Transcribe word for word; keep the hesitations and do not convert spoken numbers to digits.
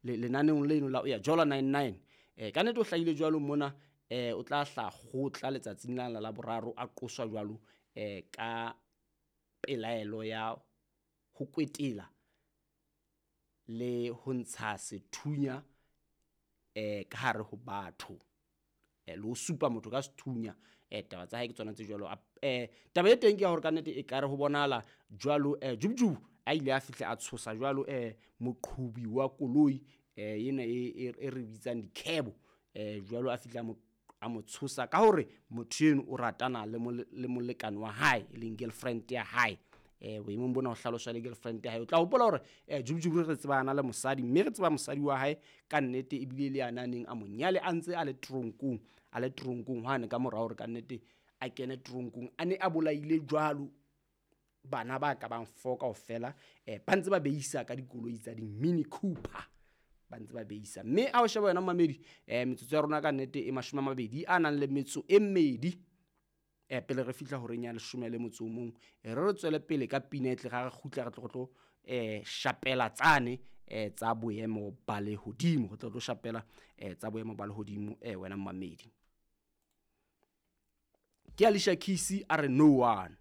lenaneong leno la Oyajola nine nine. Eh, ka nnete o hlahile jwalo mona, eh, o tla hla kgotla letsatsing la la boraro a qoswa jwalo, eh, ka pelaelo ya ho kwetela le ho ntsha sethunya, eh, ka hare ho batho. Eh, le ho supa motho ka sethunya. Eh, taba tsa hae ke tsona tse jwalo. Eh, taba e teng ke ya hore ka nnete e kare ho bonahala jwalo, eh, Jubjubu a ile a fihla a tshosa jwalo, eh, moqhobi wa koloi, eh, ena e, e, e re bitsang dikhebo. Eh, jwalo a fihla a mo, a mo tshosa ka hore motho eno o ratana le mole-, le molekane wa hae, e leng girlfriend ya hae. Eh, boemong bona ho hlaloswa le girlfriend ya hae. O tla hopola hore, eh, Jubjubu re tsebana le mosadi, mme re tseba mosadi wa hae ka nnete, ebile le yena a neng a mo nyale a ntse a le tronkong, a le tronkong hwane ka mora hore ka nnete a kene tronkong, a ne a bolaile jwalo bana ba ka bang four kaofela, eh, ba ntse ba beisa ka dikoloi tsa di-Mini Cooper, ba ntse ba beisa. Mme ha o sheba wena momamedi, eh, metsotso ya rona ka nnete e mashome a mabedi a nang le metso e mmedi, eh, pele re fihla horeng ya leshome le motso o mong, eh, re re tswele pele ka pina e tle ra re kgutla re tlo tlo, eh, shapela tsane, eh, tsa boemo ba lehodimo. Re tlo tlo shapela, eh, tsa boemo ba lehodimo, eh, wena momamedi. Ke Alicia Keys a re no one.